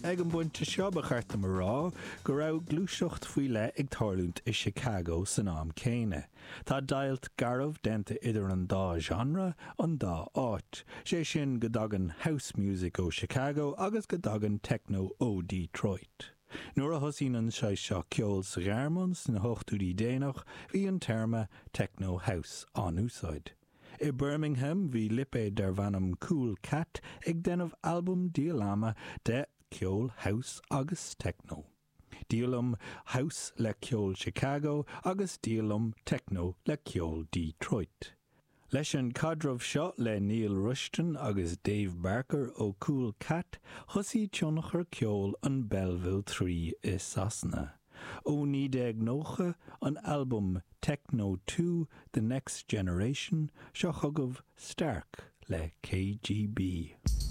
Ag an bpointe seo, ba cheart dom a rá go raibh gluaiseacht faoi leith ag tarlúint i Chicago san am céanna. Tá deighilt garbh déanta idir an dá genre, an dá áit. Sé sin go dtagann house music ó Chicago agus go dtagann techno ó Detroit. Nuair a thosaíonn an saghas seo ceoil sa Ghearmáin sna hochtóidí déanach, bhí an téarma techno house á n-úsáid. I Birmingham bhí lipéad darbh ainm Kool Kat ag déanamh albam díolama de ceol house agus techno. Díolaim house le ceol Chicago agus díolaim techno le ceol Detroit. Leis an caidreamh seo le Neil Rushton agus Dave Barker ó Kool Kat thosaigh tionchar ceoil an Belleville 3 i Sasana. Ó 1990, an albam Techno 2, The Next Generation, seo chugaibh Stark le KGB.